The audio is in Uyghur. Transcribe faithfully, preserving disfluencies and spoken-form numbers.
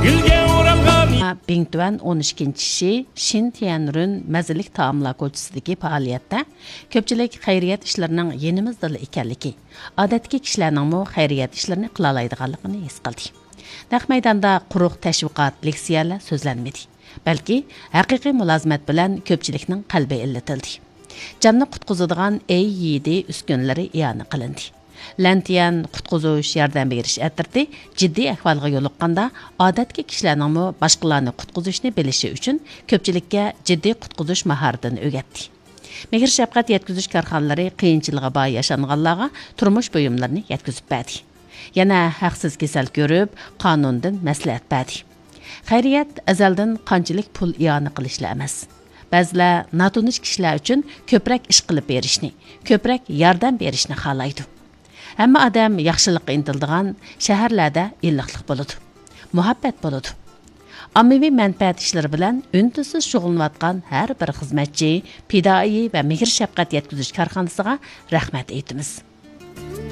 گۈلگە ئورالغان. بىڭتۈەن ئون ئىككىنچى شى شىن تيەنرۇن مەززىلىك تائاملار كوچىسىدىكى پائالىيەتتە كۆپچىلىك خەيرىيەت ئىشلىرىنىڭ يېنىمىزدىلا ئىكەنلىكى، ئادەتتىكى كىشىلەرنىڭمۇ خەيرىيەت ئىشلىرىنى قىلالايدىغانلىقىنى ھېس قىلدى. نەق مەيداندا قۇرۇق تەشۋىقات، لېكسىيەلەر سۆزلەنمىدى، بەلكى ھەقىقىي مۇلازىمەت بىلەن كۆپچىلىكنىڭ قەلبى ئىللىتىلدى. جاننى قۇتقۇزىدىغان ئېي يىدى ئۈسكۈنىلىرى ئىئانە قىلىندى. لەنتيەن قۇتقۇزۇش ياردەم بېرىش ئەترىتى جىددىي ئەھۋالغا يولۇققاندا، ئادەتتىكى كىشىلەرنىڭمۇ باشقىلارنى قۇتقۇزۇشنى بىلىشى ئۈچۈن كۆپچىلىككە جىددىي قۇتقۇزۇش ماھارىتىنى ئۆگەتتى. مېھىر-شەپقەت يەتكۈزۈش كارخانىلىرى قىيىنچىلىقى بار ياشانغانلارغا تۇرمۇش بۇيۇملىرىنى يەتكۈزۈپ بەردى. يەنە ھەقسىز كېسەل كۆرۈپ، قانۇندىن مەسلىھەت بەردى. خەيرىيەت ئەزەلدىن قانچىلىك پۇل ئىئانە قىلىشلا ئەمەس. بەزىلەر ناتونۇش كىشىلەر ئۈچۈن كۆپرەك ئىش قىلىپ بېرىشنى، كۆپرەك ياردەم بېرىشنى خالايدۇ. ھەممە ئادەم ياخشىلىققا ئىنتىلىدىغان شەھەرلەردە ئىللىقلىق بولىدۇ، مۇھەببەت بولىدۇ. ئاممىۋى مەنپەئەت ئىشلىرى بىلەن ئۈن-تىنسىز شۇغۇللىنىۋاتقان ھەر بىر خىزمەتچى، پىدائىي ۋە مېھىر-شەپقەت يەتكۈزۈش كارخانىسىغا رەھمەت ئېيتىمىز.